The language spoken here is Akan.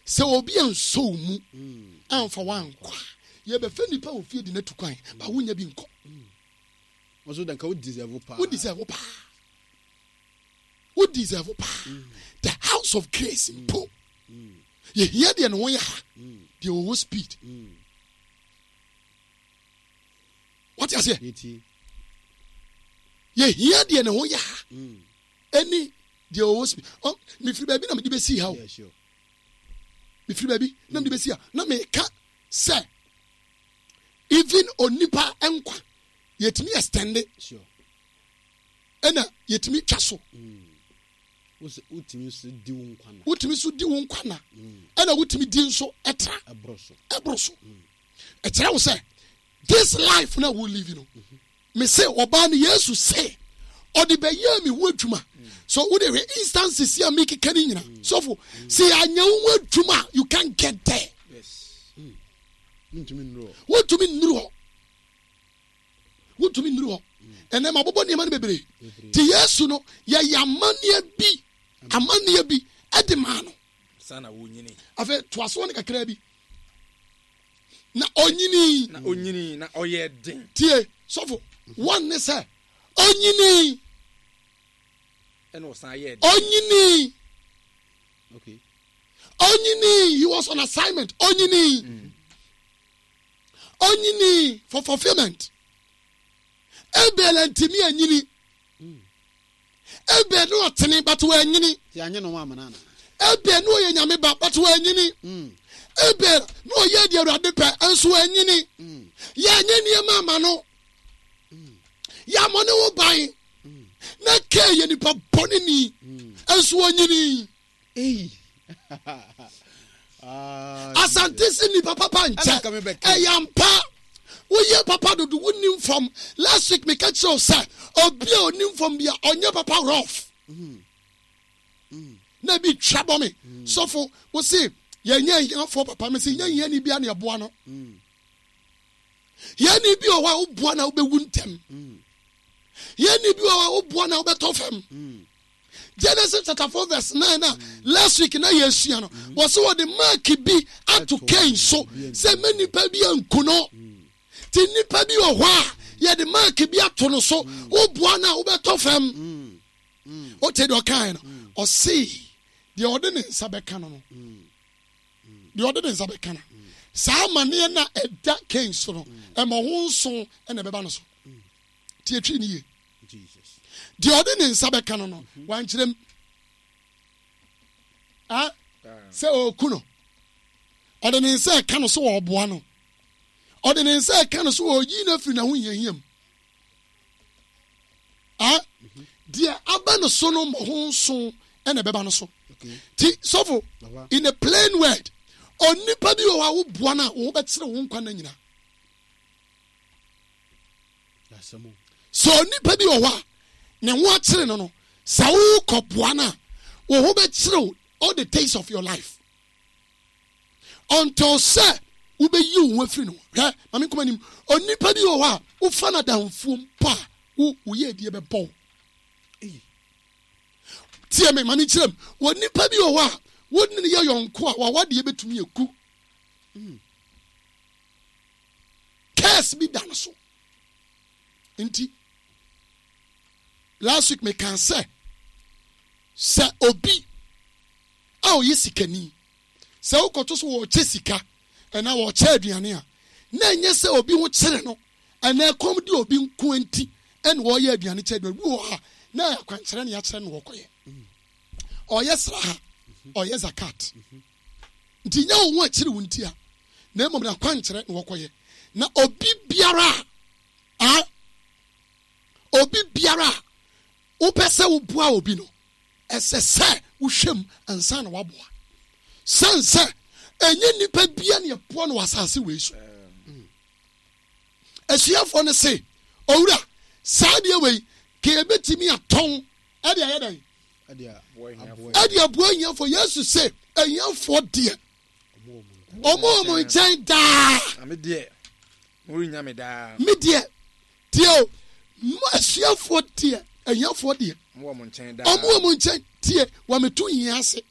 Sɛ obi ansɔ wo mu amfa wo ankɔ a, yɛbɛfa nnipa wɔ fie de no atu kwan, ba wonya bi nkɔ. Nso da nka wo deserve paa. Wo deserve paa. Wo deserve paa. The house of grace mpo. Yɛhia deɛ ne ho yɛ ha, deɛ ɔwɔ speed. Wate aseɛ? Yɛhia deɛ ne ho yɛ ha. Ɛne deɛ ɔwɔ speed. Mefiri baabi na mede bɛsi ha o. Mefiri baabi na mede bɛsi ha. Na meka sɛ even onipa nkwa yɛtumi extend ɛna yɛtumi twa so. Wotumi so di wo nkwa na. Wotumi so di wo nkwa na. Ɛna wotumi di nso ɛtra. Ɛboro so. Ɛboro so. Ɛkyerɛ wo sɛ this life na wo live no. Me se ɔbaa no Yesu se ɔde bɛyɛɛ me ho adwuma. So wode hwɛ instances a mekeka ne nyina. Sɔfo, sɛ yɛanyɛ wo ho adwuma you can't get there. Wontumi nnuru hɔ. Wontumi nnuru hɔ. Wontumi nnuru hɔ. Ɛnɛ mabobɔ nneɛma no bebree. Ti Yesu no yɛyɛ amanneɛ bi amanneɛ bi ɛde maa no. Afei toasoɔ no kakraa bi. Na onyinii. Na onyinii na ɔyɛɛ den. Tie, sɔfo, wɔn ne sɛ onyinii. Ɛna ɔsan yɛɛ den. Onyinii. Okay. Onyinii, he was on assignment. Onyinii. Onyinii for fulfillment. Abel ntumi anyini. Abel no ɔtene but wanyini. Abel no ɔyɛ nyame ba but wanyini. Abel no ɔyɛ deɛ Awurade pɛ nso wanyini. Yɛanyɛ nneɛma ama no. Yɛamɔ ne ho ban. Na Kain yɛ nipa bɔne ni nso ɔnyini. Asante se nipa papa nkyɛ. Ɛyɛ ampa. Woyɛ papa dodo wonim fam. Last week meka kyerɛ wo sɛ obi a onim fam bia ɔnyɛ papa rough. Na ebi twa bɔ me. Sɔfo wo se yɛnyɛ ahiafoɔ papa me se nyɛ hiani bia na ɛboa no. Hiani bi wɔ hɔ a woboa na wobɛwu ntɛm. Hiani bi wɔ hɔ a woboa na wobɛtɔ fam. Genesis chapter 4 verse 9 na last week na yɛsua no wɔ sɛ wɔde mark bi ato Cain so sɛ mɛ nipa bi anku no. Ti nipa bi wɔ hɔ a yɛde mark bi ato no so woboa no a wobɛtɔ fam. Wote deɛ ɔkae no ɔse deɛ ɔde ne nsa bɛka no no deɛ ɔde ne nsa bɛka no saa amanneɛ no a ɛda Cain so no ɛma ho nso ɛna ɛbɛba no so. Tie twi ne yie. Deɛ ɔde ne nsa bɛka no no wankyerɛ mu sɛ ɔreku no. Ɔde ne nsa ɛka no so ɔreboa no. Ɔde ne nsa ɛka no so ɔreyi no afiri n'ahohiahia mu. Deɛ aba no so no mmɔho nso ɛna ɛbɛba no so. Ti sɔfo, in a plain word, onipa bi wɔ hɔ a woboa no a wo ho bɛkyerɛ wo nkwa nna nyinaa. Sɛ onipa bi wɔ hɔ a ne ho akyere no no, sɛ wokɔboa no a, wo ho bɛkyere wo all the days of your life until sɛ wobɛyi wo ho afiri no ho. Hwɛ, ma me nkɔm anim. Onipa bi wɔ hɔ a wofa no adamfoɔ mpo a, wo woyɛ adie bɛbɔ wo. Tie me, ma me nkyerɛ mu. Onipa bi wɔ hɔ a wo ne no yɛ yɔnko a wawadeɛ bɛtumi agu. Curse bi da no so. Nti, last week mekaa sɛ, sɛ obi a ɔyɛ sikani, sɛ wokɔto so wɔrekyɛ sika anaa wɔrekyɛ aduane a, na ɛnyɛ sɛ obi ho kyere no anaa ɛkɔm de obi nko nti ɛna wɔreyɛ aduane kyɛ aduane. Bi wɔ hɔ a, na akwankyerɛ ne akyerɛ no wɔkɔyɛ. Ɔyɛ sraha, ɔyɛ zakat. Nti nyɛ wo ho akyiri wo nti a, na mmom n'akwankyerɛ na wɔkɔyɛ. Na obi biara a, obi biara a wopɛ sɛ woboa obi no, ɛsɛ sɛ wohwɛ mu ansa na waboa. Sɛn sɛ ɛnyɛ nnipa bia na ɛboa no wɔ asase wei so. Asuafoɔ no se, Owura, saa adeɛ wei, ka yɛbɛtumi atɔn ɛde ayɛ dɛn? Ɛde aboa ahiafoɔ. Yesu se, ahiafoɔ deɛ, ɔmo wɔ mo nkyɛn daa. Na me deɛ, morennya me daa. Me deɛ, tie o, mo asuafoɔ deɛ, ahiafoɔ deɛ, Ɔmo wɔ mo nkyɛn daa. ɔmo wɔ mo nkyɛn. Tie, wɔameto hia ase.